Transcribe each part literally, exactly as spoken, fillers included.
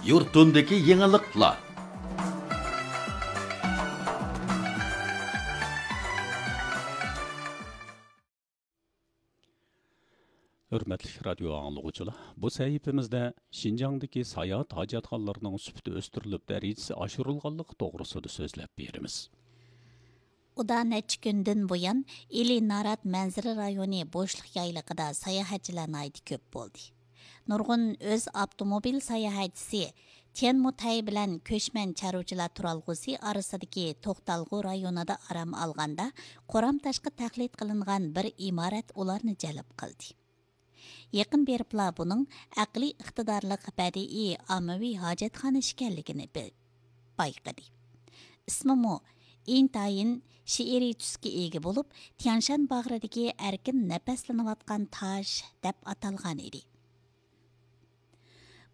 يۇرتۇمدىكى يېڭىلىقلار. ھۆرمەتلىك رادىيو ئاڭلىغۇچىلار، بۇ سەھىپىمىزدە شىنجاڭدىكى ساياھەت ھاجەتخانىلىرىنىڭ سۈپىتى ئۆستۈرۈلۈپ، دەرىجىسى ئاشۇرۇلغانلىقى توغرىسىدا سۆزلەپ بېرىمىز. ئۇدا نەچچە كۈندىن بۇيان، ئىلى نارات مەنزىرە رايونى بوشلۇق يايلىقىدا ساياھەتچىلەر ناھايىتى كۆپ بولدى. نۇرغۇن ئۆز ئاپتوموبىل ساياھەتچىسى تيەنمۇتەي بىلەن كۆچمەن چارۋىچىلار تۇرالغۇسى ئارىسىدىكى توختالغۇ رايونىدا ئارام ئالغاندا، قورام تاشقا تەقلىد قىلىنغان بىر ئىمارەت ئۇلارنى جەلپ قىلدى. يېقىن بېرىپلا بۇنىڭ ئەقلىي ئىقتىدارلىق بەدىئىي ئاممىۋى ھاجەتخانا ئىكەنلىكىنى بىل-، بايقىدى. ئىسمىمۇ ئىنتايىن شېئىرىي تۈسكە ئىگە بولۇپ، تيانشان باغرىدىكى ئەركىن نەپەسلىنىۋاتقان تاش دەپ ئاتالغان ئىدى.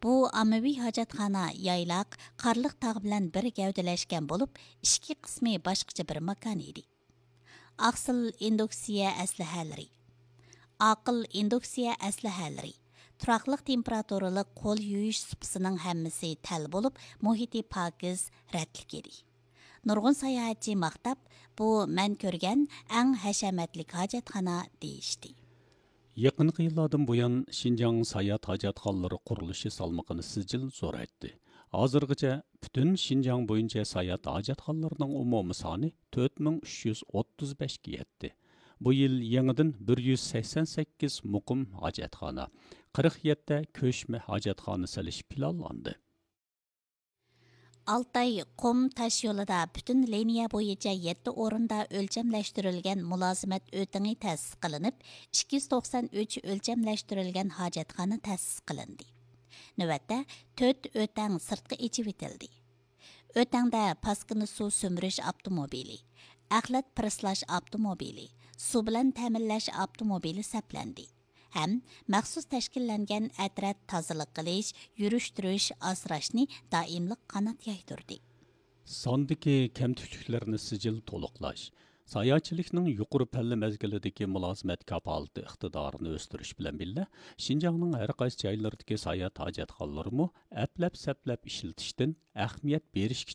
بۇ ئاممىۋى ھاجەتخانا يايلاق، قارلىق تاغ بىلەن بىر گەۋدىلەشكەن بولۇپ، ئىچكى قىسمى باشقىچە بىر ماكان ئىدى. ئاقسىل ئىندۇكسىيە ئەسلىھەلىرى، ئاقىل ئىندۇكسىيە ئەسلىھەلىرى، تۇراقلىق تېمپېراتۇرىلىق قول يۇيۇش سۇپىسىنىڭ ھەممىسى تەل بولۇپ، مۇھىتى پاكىز، رەتلىك ئىدى. نۇرغۇن ساياھەتچى ماختاپ، بۇ مەن كۆرگەن ئەڭ ھەشەمەتلىك ھاجەتخانا دېيىشتى. يېقىنقى يىللاردىن بۇيان، شىنجاڭ ساياھەت ھاجەتخانىلىرى قۇرۇلۇشى سالمىقىنى سىجىل زورايتتى. ھازىرغىچە پۈتۈن شىنجاڭ بويىچە ساياھەت ھاجەتخانىلىرىنىڭ ئومۇمىي سانى تۆت مىڭ ئۈچ يۈز ئوتتۇز بەشكە يەتتى. بۇ يىل يېڭىدىن بىر يۈز سەكسەن سەككىز مۇقىم ھاجەتخانا، قىرىق يەتتە كۆچمە ھاجەتخانا سېلىش پىلانلاندى. ئالتاي قۇم تاش يولىدا پۈتۈن لىنىيە بويىچە يەتتە ئورۇندا ئۆلچەملەشتۈرۈلگەن مۇلازىمەت ئۆتىڭى تەسىس قىلىنىپ، ئىككى يۈز توقسان ئۈچ ئۆلچەملەشتۈرۈلگەن ھاجەتخانا تەسىس قىلىندى. نۆۋەتتە تۆت ئۆتەڭ سىرتقا ئېچىۋېتىلدى. ئۆتەڭدە پاسكىنا سۇ سۈمۈرۈش ئاپتوموبىلى، ئەخلەت پىرىسلاش ئاپتوموبىلى، سۇ بىلەن تەمىنلەش ئاپتوموبىلى سەپلەندى. ھەم مەخسۇس تەشكىللەنگەن ئەترەت تازىلىق قىلىش، يۈرۈشتۈرۈش، ئاسراشنى دائىملىق قانات يايدۇردى. ساندىكى كەمتۈكلۈكلەرنى سىجىل تولۇقلاش، ساياھەتچىلىكنىڭ يۇقىرى پەللە مەزگىلىدىكى مۇلازىمەت كاپالىتى ئىقتىدارىنى ئۆستۈرۈش بىلەن بىللە، شىنجاڭنىڭ ھەر قايسى جايلىرىدىكى ساياھەت ھاجەتخانىلىرىمۇ ئەپلەپ-سەپلەپ ئىشلىتىشتىن ئەھمىيەت بېرىشكە